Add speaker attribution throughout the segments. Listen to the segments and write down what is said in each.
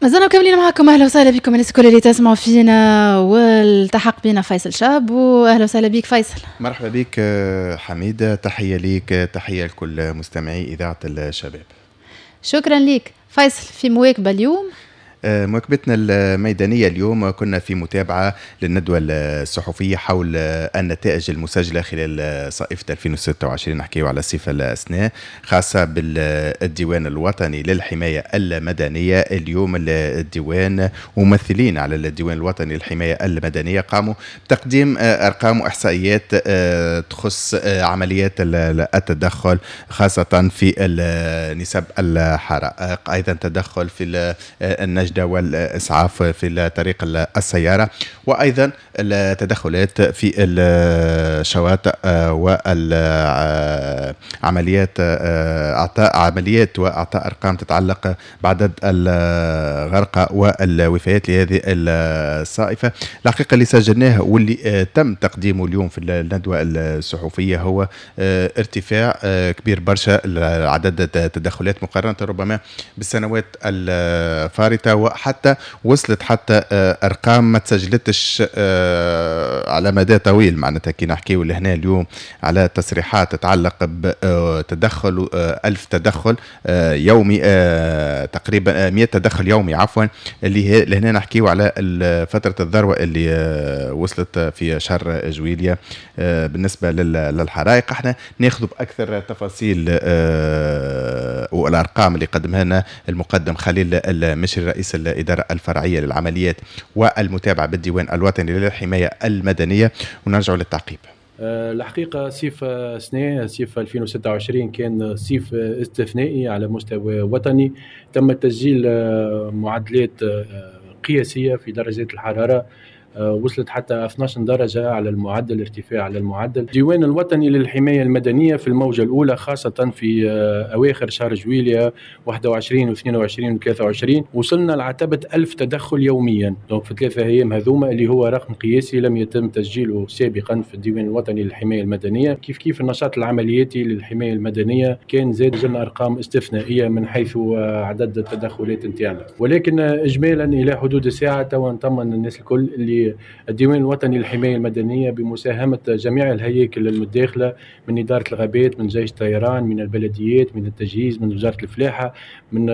Speaker 1: مازلنا مكملين معكم. اهلا وسهلا بكم الناس الكل اللي تسمعوا فينا، والتحق بنا فيصل شاب، واهلا وسهلا بك فيصل.
Speaker 2: مرحبا بك حميدة، تحية ليك، تحية لكل مستمعي إذاعة الشباب.
Speaker 1: شكرا لك فيصل. في مواكبة اليوم،
Speaker 2: مواكبتنا الميدانية اليوم كنا في متابعة للندوة الصحفية حول النتائج المسجلة خلال صائفة 2026، نحكيو على الصفة الأسناء خاصة بالديوان الوطني للحماية المدنية. اليوم الديوان وممثلين على الديوان الوطني للحماية المدنية قاموا بتقديم أرقام وإحصائيات تخص عمليات التدخل خاصة في نسب الحرائق، أيضا تدخل في النجدة والإسعاف في طريق السيارة، وأيضا التدخلات في الشواطئ والعمليات، أعطاء عمليات وأعطاء أرقام تتعلق بعدد الغرقى والوفيات لهذه الصائفة. الحقيقة اللي سجلناه واللي تم تقديمه اليوم في الندوة الصحفية هو ارتفاع كبير برشا عدد التدخلات مقارنة ربما بالسنوات الفارطة، وحتى وصلت حتى ارقام ما تسجلتش على مدى طويل. معناتها كي نحكيو لهنا اليوم على تصريحات تتعلق بتدخل 1000 تدخل يومي، تقريبا 100 تدخل يومي عفوا، اللي لهنا نحكيو على فترة الذروة اللي وصلت في شهر جويليا بالنسبة للحرائق. احنا ناخذ بأكثر تفاصيل والأرقام اللي قدمها لنا المقدم خليل المشري رئيس الإدارة الفرعية للعمليات والمتابعة بالديوان الوطني للحماية المدنية، ونرجع للتعقيب.
Speaker 3: الحقيقة صيف سنة صيف 2026 كان صيف استثنائي على مستوى وطني، تم تسجيل معدلات قياسية في درجات الحرارة، وصلت حتى 12 درجة على المعدل، ارتفاع على المعدل. الديوان الوطني للحماية المدنية في الموجة الأولى خاصة في أواخر شهر جويليا 21 و22 و23 وصلنا لعتبة 1000 تدخل يوميا، donc في 3 أيام هذوما اللي هو رقم قياسي لم يتم تسجيله سابقا في الديوان الوطني للحماية المدنية. كيف كيف النشاط العملياتي للحماية المدنية كان زاد جلنا أرقام استثنائية من حيث عدد التدخلات نتاعنا، ولكن إجمالا إلى حدود الساعة توا نطمن الناس الكل اللي الديوان الوطني للحماية المدنية بمساهمة جميع الهياكل المتداخلة من إدارة الغابات، من جيش الطيران، من البلديات، من التجهيز، من وزارة الفلاحة، من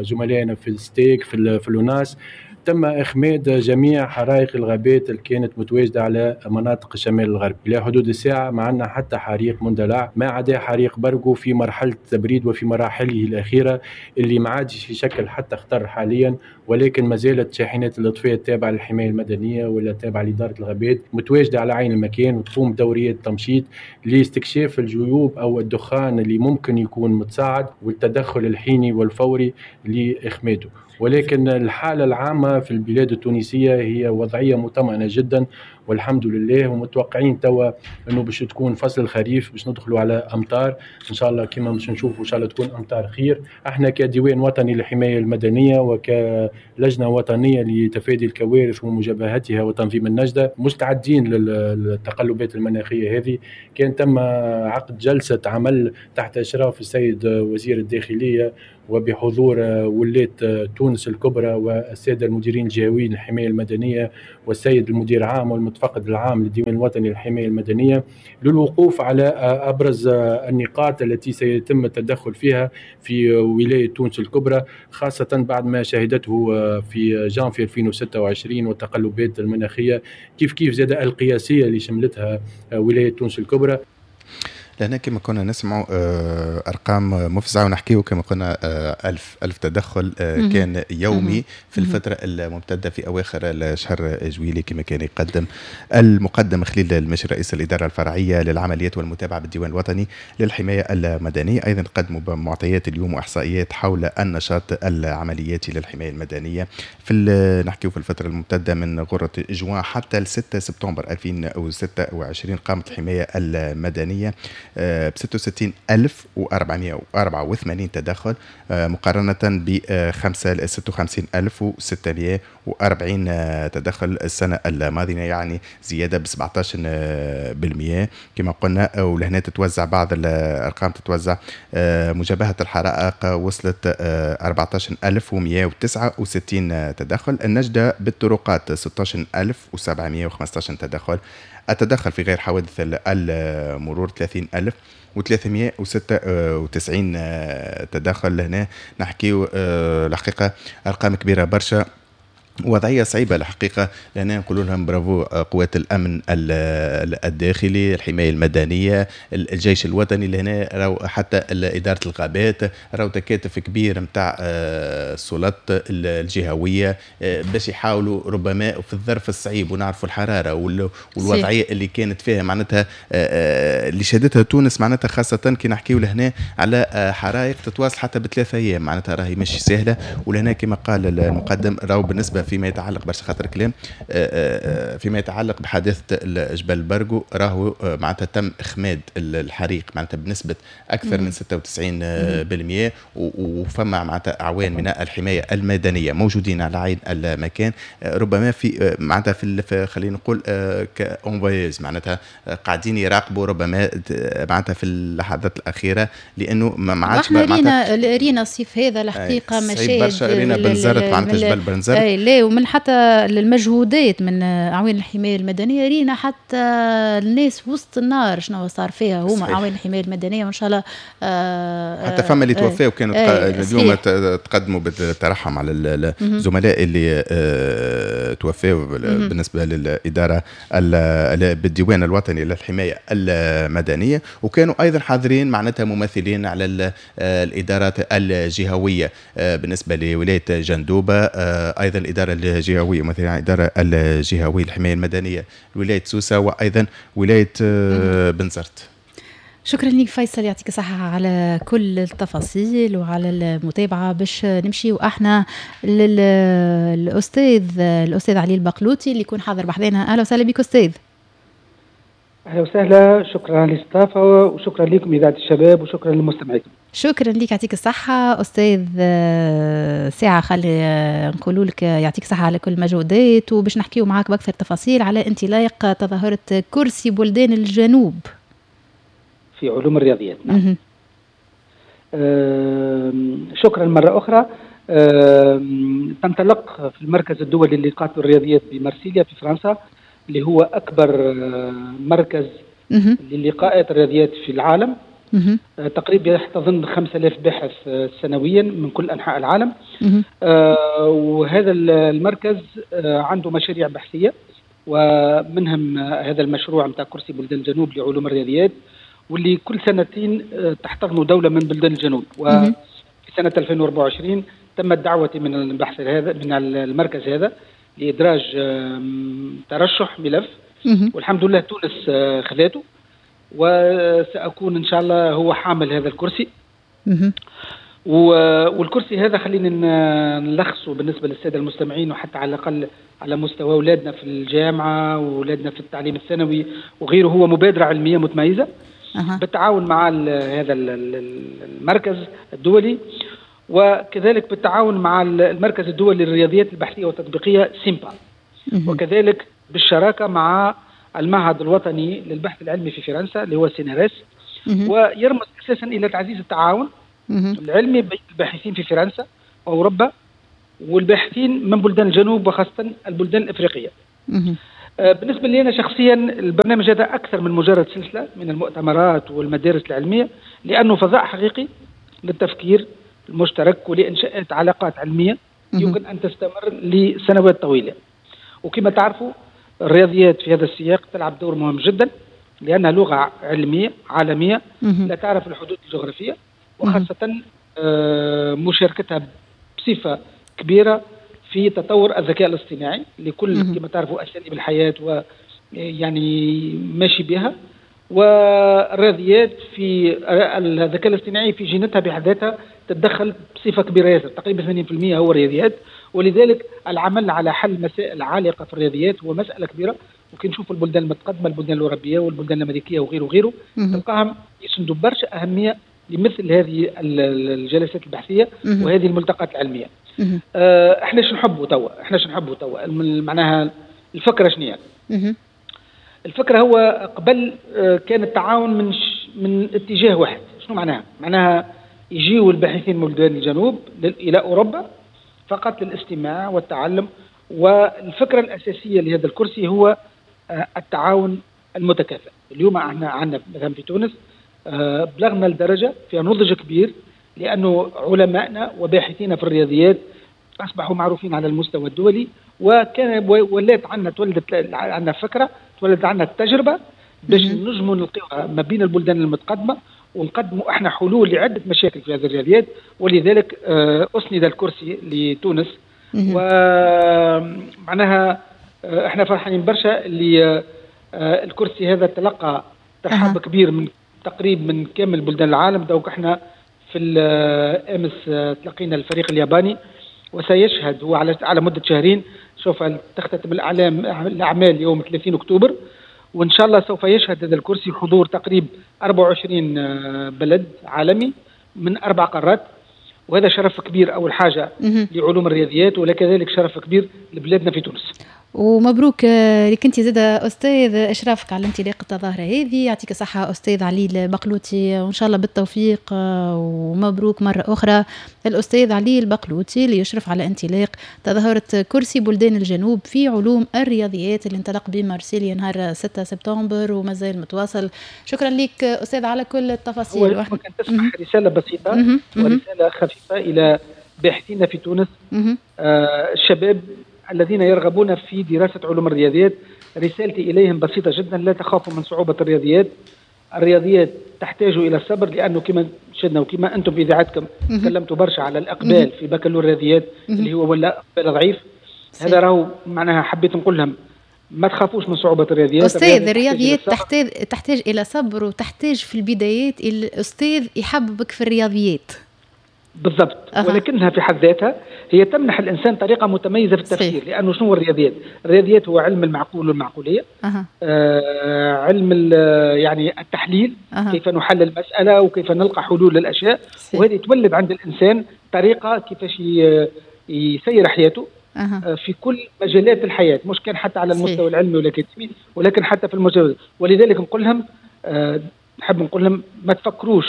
Speaker 3: زملائنا في الستيك، في الوناس، تم إخماد جميع حرائق الغابات اللي كانت متواجدة على مناطق الشمال الغربي. إلى حدود الساعة ما عندنا حتى حريق مندلع، ما عدا حريق برقو في مرحلة التبريد وفي مراحله الأخيرة اللي ما عادش يشكل حتى خطر حاليا، ولكن ما زالت شاحنات الإطفاء التابعة للحماية المدنية ولا التابعة لإدارة الغابات متواجدة على عين المكان وتقوم بدوريات تمشيط لاستكشاف الجيوب أو الدخان اللي ممكن يكون متصاعد والتدخل الحيني والفوري لإخماده. ولكن الحالة العامة في البلاد التونسية هي وضعية مطمئنة جدا والحمد لله، ومتوقعين توا انه باش تكون فصل الخريف باش ندخلوا على امطار ان شاء الله، كما باش نشوفوا ان شاء الله تكون امطار خير. احنا كديوان وطني للحماية المدنية وكلجنه وطنية لتفادي الكوارث ومجابهتها وتنظيم النجده مستعدين للتقلبات المناخية هذه. كان تم عقد جلسه عمل تحت اشراف السيد وزير الداخلية وبحضور ولاة تونس الكبرى والسادة المديرين الجهويين للحماية المدنية والسيد المدير العام والمتفقد العام للديوان الوطني للحماية المدنية للوقوف على أبرز النقاط التي سيتم التدخل فيها في ولاية تونس الكبرى، خاصة بعد ما شهدته في جانفي 2026 والتقلبات المناخية كيف كيف زاد القياسية اللي شملتها ولاية تونس الكبرى.
Speaker 2: لهنا كما كنا نسمعوا أرقام مفزعة ونحكيو كما قلنا ألف تدخل كان يومي في الفترة الممتدة في أواخر شهر جويلي كما كان يقدم المقدم خليل المشري رئيس الإدارة الفرعية للعمليات والمتابعة بالديوان الوطني للحماية المدنية. أيضا قدموا معطيات اليوم وإحصائيات حول النشاط العملياتي للحماية المدنية في نحكيو في الفترة الممتدة من غرة جوان حتى 6 سبتمبر 2026 قامت الحماية المدنية ب 66484 تدخل مقارنة ب 56640 تدخل السنة الماضية، يعني زيادة ب 17% كما قلنا. ولهنا تتوزع بعض الأرقام، تتوزع مجابهة الحرائق وصلت 14169 تدخل، النجدة بالطرقات 16715 تدخل، التدخل في غير حوادث المرور 30396 تدخل. هنا نحكيو الحقيقة أرقام كبيرة برشا، وضعية صعيبة الحقيقة. لأن نقول لهم برافو قوات الأمن الداخلي، الحماية المدنية، الجيش الوطني، لهنا راهو حتى إدارة الغابات، راهو تكاتف كبير نتاع السلطات الجهوية باش يحاولوا ربما في الظرف الصعيب، ونعرفوا الحرارة والوضعية اللي كانت فيها معناتها اللي شهدتها تونس معناتها، خاصة كي نحكيو لهنا على حرائق تتواصل حتى ب3 أيام، معناتها راهي مش سهلة. ولهنا كما قال المقدم راهو بالنسبة فيما يتعلق برشا خاطر كلام فيما يتعلق بحادثة جبل برجو، راهو معناتها تم إخماد الحريق معناتها بنسبة أكثر من 96%، وفما معناتها أعوان من الحماية المدنية موجودين على عين المكان، ربما في معناتها في خلينا نقول كأنفايز معناتها قاعدين يراقبوا ربما معناتها في اللحظات الأخيرة، لأنه ما عادش
Speaker 1: معناتها رينا الصيف هذا الحقيقة مشاهد
Speaker 2: برشا، رينا بنزرت معناتها جبل بنزرت،
Speaker 1: لا ومن حتى المجهودات من أعوان الحماية المدنية، رينا حتى الناس وسط النار شنو صار فيها هما أعوان الحماية المدنية، وإن شاء الله
Speaker 2: حتى فما اللي توفاوا كانوا اليوم تقدموا بالترحم على الزملاء اللي توفاوا بالنسبة للإدارة بالديوان الوطني للحماية المدنية، وكانوا أيضا حاضرين معناتها ممثلين على الإدارات الجهوية بالنسبة لولاية جندوبة، أيضا الإدارة الجهوية مثلا الإدارة الجهوية للحماية المدنية ولاية سوسة، وأيضا ولاية بنزرت.
Speaker 1: شكرا لك فيصل، يعطيك الصحة على كل التفاصيل وعلى المتابعة. باش نمشي وإحنا للأستاذ الأستاذ علي البقلوطي اللي يكون حاضر بحذانا. أهلا وسهلا بك أستاذ.
Speaker 4: أهلا وسهلا، شكرا على الاستضافة وشكرا لكم إذاعة الشباب وشكرا للمستمعين.
Speaker 1: شكرا لك، يعطيك الصحة أستاذ. ساعة خلي نقولوا لك يعطيك الصحة على كل المجهودات، وباش نحكيو معاك بأكثر تفاصيل على انطلاق تظاهرة كرسي بلدان الجنوب
Speaker 4: في علوم الرياضيات. نعم. شكرا مرة أخرى. تنطلق في المركز الدولي للقاءات الرياضيات بمارسيليا في فرنسا، اللي هو أكبر مركز للقاءات الرياضيات في العالم. تقريبا يحتضن 5000 باحث سنويا من كل أنحاء العالم. وهذا المركز عنده مشاريع بحثية، ومنهم هذا المشروع نتاع كرسي بلدان الجنوب لعلوم الرياضيات، واللي كل سنتين تحتضن دولة من بلدان الجنوب. وفي سنة 2024 تمت دعوتي من البحث هذا من المركز هذا لإدراج ترشح ملف، والحمد لله تونس خذاته، وسأكون إن شاء الله هو حامل هذا الكرسي. والكرسي هذا خلينا نلخصه بالنسبة للسادة المستمعين، وحتى على الأقل على مستوى أولادنا في الجامعة وأولادنا في التعليم الثانوي وغيره، هو مبادرة علمية متميزة بالتعاون مع هذا المركز الدولي، وكذلك بالتعاون مع المركز الدولي للرياضيات البحثية والتطبيقية سيمبا، وكذلك بالشراكة مع المعهد الوطني للبحث العلمي في فرنسا اللي هو CNRS. ويرمز أساسا إلى تعزيز التعاون العلمي بين الباحثين في فرنسا وأوروبا والباحثين من بلدان الجنوب وخاصة البلدان الإفريقية. بالنسبة لي أنا شخصيا البرنامج هذا أكثر من مجرد سلسلة من المؤتمرات والمدارس العلمية، لأنه فضاء حقيقي للتفكير المشترك ولإنشاء علاقات علمية يمكن أن تستمر لسنوات طويلة. وكما تعرفوا الرياضيات في هذا السياق تلعب دور مهم جدا، لأنها لغة علمية عالمية لا تعرف الحدود الجغرافية، وخاصة مشاركتها بصفة كبيرة في تطور الذكاء الاصطناعي لكل كما تعرفوا أساليب الحياة ويعني ماشي بها. والرياضيات في الذكاء الاصطناعي في جينتها بحد ذاتها تتدخل بصفة كبيرة ياسر، تقريبا 80% هو الرياضيات، ولذلك العمل على حل مسائل عالقة في الرياضيات هو مسألة كبيرة، وكي نشوف البلدان المتقدمة، البلدان الاوروبية والبلدان الامريكية وغيره وغيره، تلقاهم يسندوا برشا اهمية لمثل هذه الجلسات البحثية وهذه الملتقات العلمية. احنا شو نحبوا توا؟ احنا شو نحبوا توا؟ معناها الفكرة شنو هي؟ الفكرة هو قبل كان التعاون من اتجاه واحد. شنو معناها؟ معناها يجيوا الباحثين من بلدان الجنوب الى اوروبا فقط للاستماع والتعلم. والفكرة الاساسية لهذا الكرسي هو التعاون المتكافئ. اليوم احنا عندنا مثلا في تونس بلغنا الدرجة في نضج كبير، لانه علمائنا وباحثينا في الرياضيات اصبحوا معروفين على المستوى الدولي، وكان ولات عندنا تولدت عندنا فكرة، تولدت عندنا التجربة باش نجموا نلقيوها ما بين البلدان المتقدمة، ونقدموا احنا حلول لعدة مشاكل في هذه الرياضيات. ولذلك اسند الكرسي لتونس. ومعناها احنا فرحانين برشا اللي الكرسي هذا تلقى ترحاب كبير من تقريب من كامل بلدان العالم. donc احنا في امس تلقينا الفريق الياباني، وسيشهد هو على مده شهرين. سوف تختتم الاعمال يوم 30 اكتوبر، وان شاء الله سوف يشهد هذا الكرسي حضور تقريب 24 بلد عالمي من 4 قارات، وهذا شرف كبير اول حاجة لعلوم الرياضيات، ولكذلك شرف كبير لبلادنا في تونس.
Speaker 1: ومبروك لك انت زاد استاذ اشرافك على انطلاق التظاهرة هذه. يعطيك الصحة استاذ علي البقلوتي، وان شاء الله بالتوفيق. ومبروك مرة اخرى الاستاذ علي البقلوتي اللي يشرف على انطلاق تظاهرة كرسي بلدان الجنوب في علوم الرياضيات اللي انطلق بمارسيليا نهار 6 سبتمبر ومازال متواصل. شكرا لك استاذ على كل التفاصيل.
Speaker 4: ممكن تسمح رسالة بسيطة ورسالة خفيفة الى باحثين في تونس، الشباب الذين يرغبون في دراسة علوم الرياضيات. رسالتي إليهم بسيطة جدا: لا تخافوا من صعوبة الرياضيات. الرياضيات تحتاج إلى الصبر، لأنه كما شدنا وكما أنتم في إذاعتكم تكلمتوا برشا على الإقبال في بكالوريا الرياضيات اللي هو ولا إقبال ضعيف. هذا راهو معناها حبيت نقول لهم ما تخافوش من صعوبة الرياضيات.
Speaker 1: أستاذ، الرياضيات تحتاج إلى صبر، وتحتاج في البدايات الأستاذ يحببك في الرياضيات.
Speaker 4: بالضبط. ولكنها في حد ذاتها هي تمنح الإنسان طريقة متميزة في التفكير. لأنه شنو هو الرياضيات؟ الرياضيات هو علم المعقول والمعقولية، علم يعني التحليل، كيف نحلل المسألة وكيف نلقى حلول للأشياء. وهذه تولد عند الإنسان طريقة كيفاش يسير حياته في كل مجالات الحياة، مش كان حتى على المستوى العلمي والأكاديمي، ولكن حتى في المجال. ولذلك نقول لهم، نحب نقول لهم ما تفكروش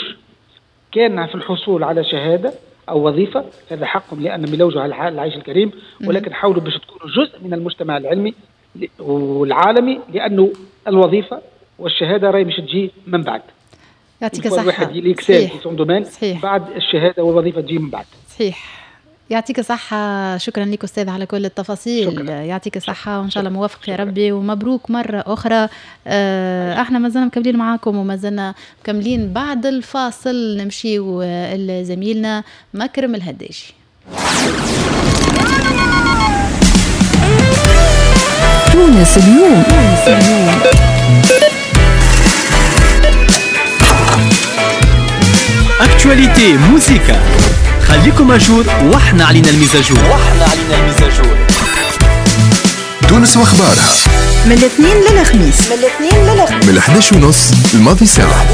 Speaker 4: كان في الحصول على شهادة أو وظيفة، هذا حقهم لأنهم يلوجوا على العيش الكريم، ولكن حاولوا باش تكونوا جزء من المجتمع العلمي والعالمي، لأنه الوظيفة والشهادة راهي مش تجي من بعد.
Speaker 1: يعطيك الصحة.
Speaker 4: الواحد ي excelle في son domaine، بعد الشهادة والوظيفة تجي من بعد.
Speaker 1: صحيح. يعطيك الصحة. شكرا لك أستاذ على كل التفاصيل. شكرا. يعطيك الصحة وإن شاء الله موفق يا ربي، ومبروك مرة أخرى. احنا مازلنا مكملين معاكم ومازلنا مكملين بعد الفاصل. نمشيو لزميلنا مكرم الهداجي.
Speaker 5: تونس اليوم.
Speaker 6: actualité موسيقى، خليكم à jour واحنا علينا ال mise à jour.
Speaker 7: تونس واخبارها
Speaker 5: من الاثنين للخميس،
Speaker 7: من 11:30 الماضي ساعة.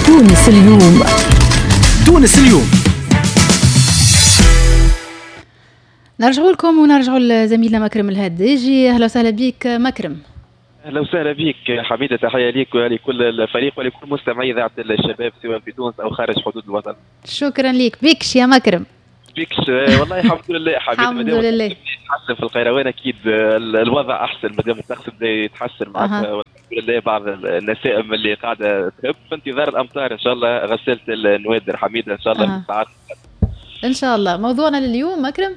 Speaker 5: تونس اليوم.
Speaker 6: تونس اليوم.
Speaker 1: نرجعوا لكم ونرجعوا لزميلنا مكرم الهداجي. اهلا وسهلا بك مكرم.
Speaker 8: اهلا وسهلا بك حميده، تحية لك ولكل الفريق ولكل مستمعي اذاعة الشباب سواء في تونس او خارج حدود الوطن.
Speaker 1: شكرا لك. بيكش يا مكرم.
Speaker 8: بيكش والله الحمد لله حميده،
Speaker 1: الحمد لله
Speaker 8: يتحسن في القيروان، اكيد الوضع احسن مادام الطقس بدا يتحسن معناتها، والحمد لله بعض النسائم اللي قاعدة تهب في انتظار الامطار ان شاء الله. غسالة النوادر حميده ان شاء الله في الساعات
Speaker 1: ان شاء الله. موضوعنا لليوم مكرم؟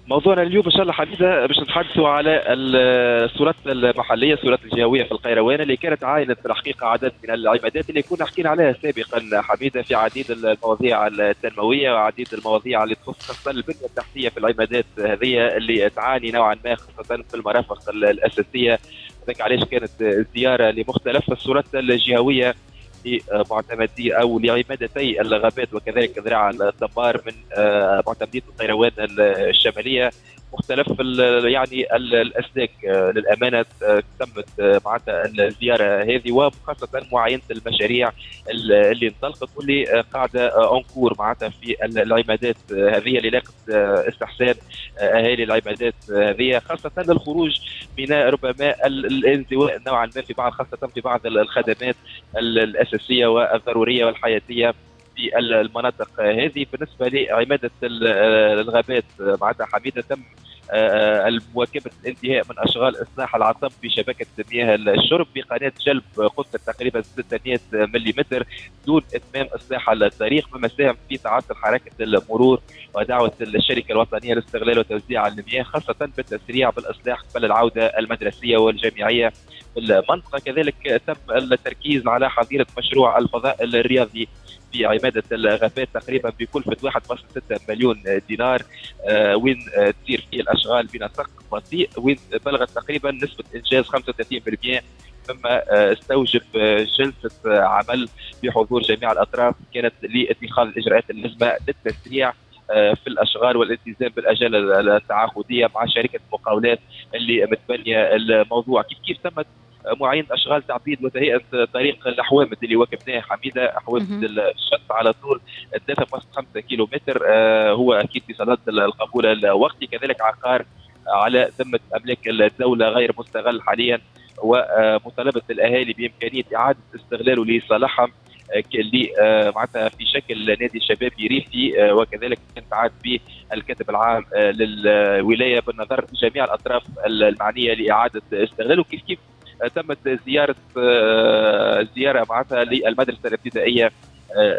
Speaker 8: موضوعنا اليوم ان شاء الله حميده باش نتحدثوا على السلطات المحلية، السلطات الجهوية في القيروان اللي كانت عاينت في الحقيقة عدد من العمادات اللي كنا حكينا عليها سابقا حميده في عديد المواضيع التنموية وعديد المواضيع اللي تخص خاصة البنية التحتية في العمادات هذه اللي تعاني نوعا ما خاصة في المرافق الاساسية. هذاك علاش كانت الزيارة لمختلف السلطات الجهوية لمعتمدي او لعمادتي الغابات وكذلك ذراع الدمار من معتمديه القيروان الشمالية. مختلف يعني الاسلاك. للامانة تمت معناتها الزيارة هذه وخاصة معاينة المشاريع اللي انطلقت واللي قاعدة en cours معناتها في العمادات هذه اللي لاقت استحسان اهالي العمادات هذه، خاصة للخروج من ربما الانزواء نوعا ما في بعض، خاصة في بعض الخدمات الاساسية والضروريه والحياتيه في المناطق هذه. بالنسبة لعماده الغابات معناتها حميده تم مواكبة الانتهاء من اشغال اصلاح العصب في شبكة مياه الشرب بقناه جلب قطر تقريبا 600 ملم دون اتمام اصلاح الطريق، مما ساهم في تعطل حركة المرور ودعوة الشركة الوطنية لاستغلال وتوزيع المياه خاصة بالتسريع بالاصلاح قبل العودة المدرسية والجامعيه في المنطقة. كذلك تم التركيز على حظيرة مشروع الفضاء الرياضي في عمادة الغابات تقريبا بكلفة 1.6 مليون دينار، وين تصير فيه الأشغال بنسق بطيء، وين بلغت تقريبا نسبة إنجاز 35%، مما استوجب جلسة عمل بحضور جميع الأطراف كانت لاتخاذ الإجراءات اللازمة للتسريع في الأشغال والالتزام بالأجال التعاقدية مع شركة المقاولات اللي متبنية الموضوع. كيف تمت معاينة أشغال تعبيد وتهيئة طريق الحوامد اللي واكبناه حميدة، حوامد الشط على طول 3.5 كيلومتر، هو أكيد في صدد القبول الوقتي. كذلك عقار على ذمة أملاك الدولة غير مستغل حاليا، ومطالبة الأهالي بإمكانية إعادة استغلاله لصالحهم معناتها في شكل نادي شبابي ريفي، وكذلك تعاد به الكاتب العام للولاية بالنظر جميع الأطراف المعنية لإعادة استغلاله. كيف تمت زيارة معناتها للمدرسة الابتدائية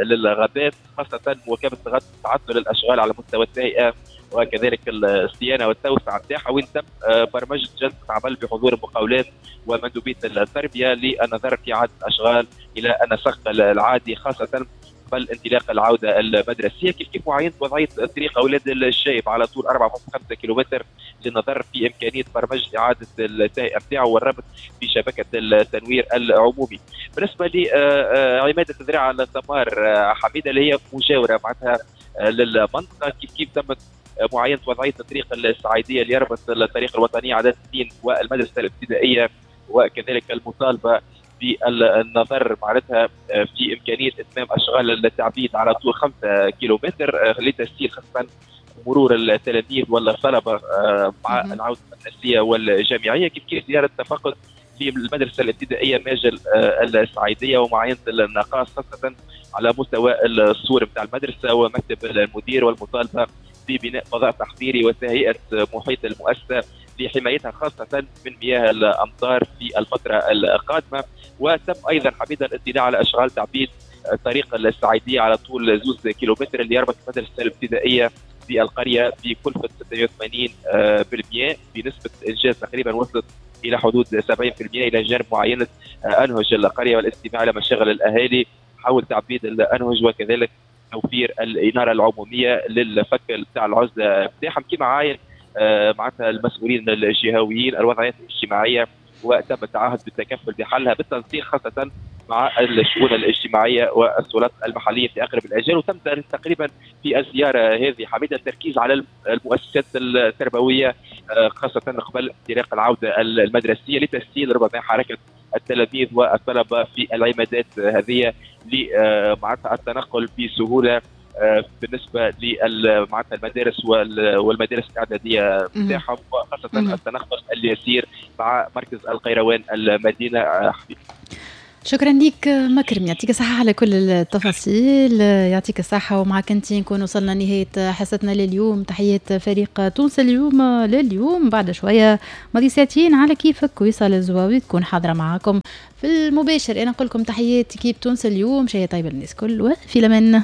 Speaker 8: للغابات، خاصة مواكبة تعطل الأشغال على مستوى التهيئة وكذلك الصيانة والتوسعة نتاعها، وين تم برمجة جلسة عمل بحضور المقاولات ومندوبية التربية للنظر في إعادة الأشغال إلى النسق العادي خاصة قبل انطلاق العودة المدرسية. كيف معاينة وضعية طريق أولاد الشايب على طول 4.5 كيلومتر للنظر في إمكانية برمجة إعادة التهيئة نتاعو والربط في شبكة التنوير العمومي. بالنسبة لعمادة ذراع الثمار حميدة اللي هي مجاورة معناتها للمنطقة، كيف تمت معاينة وضعية الطريق السعيدية اللي يربط الطريق الوطنية عدد 2 والمدرسة الابتدائية، وكذلك المطالبة بالنظر معناتها في إمكانية إتمام أشغال التعبيد على طول 5 كيلومتر لتسهيل خاصة مرور التلاميذ والطلبة مع العودة المدرسية والجامعية. كيف زيارة تفقد للمدرسة الابتدائية ماجل السعيدية ومعاينة النقاص خاصة على مستوى السور بتاع المدرسة ومكتب المدير، والمطالبة ببناء فضاء تحضيري وتهيئة محيط المؤسسة لحمايتها خاصة من مياه الأمطار في الفترة القادمة. وتم أيضا حميدة الاطلاع على أشغال تعبيد طريق السعيدية على طول 2 كيلومتر اللي يربط المدرسة الابتدائية بالقرية بكلفة 86% بنسبة إنجاز تقريبا وصلت إلى حدود 70%، إلى جانب معاينة أنهج القرية والاستماع إلى مشاغل الأهالي حول تعبيد الأنهج، وكذلك توفير الإنارة العمومية للفك بتاع العزلة بتاعهم. كما عاين معناتها المسؤولين الجهويين الوضعيات الاجتماعية، وتم التعهد بالتكفل بحلها بالتنسيق خاصة مع الشؤون الاجتماعية والسلطات المحلية في أقرب الأجال. وتم تقريبا في الزيارة هذه حميدة التركيز على المؤسسات التربوية خاصة قبل انطلاق العودة المدرسية لتسهيل ربما حركة التلاميذ والطلبة في العمادات هذه لمعناتها التنقل بسهولة بالنسبة لمعناتها المدارس والمدارس الاعدادية نتاعهم، وخاصة التنقل اليسير مع مركز القيروان المدينة. حبيبي
Speaker 1: شكرا لك مكرم، يعطيك الصحة على كل التفاصيل، يعطيك الصحة. ومعك انت نكون وصلنا نهاية حصتنا لليوم. تحيات فريق تونس اليوم لليوم، بعد شوية ماضي ساعتين على كيفك وصال الزواوي تكون حاضرة معاكم في المباشر. انا نقول لكم تحيات كيف تونس اليوم، شيء طيب للناس كل، وفي لمن.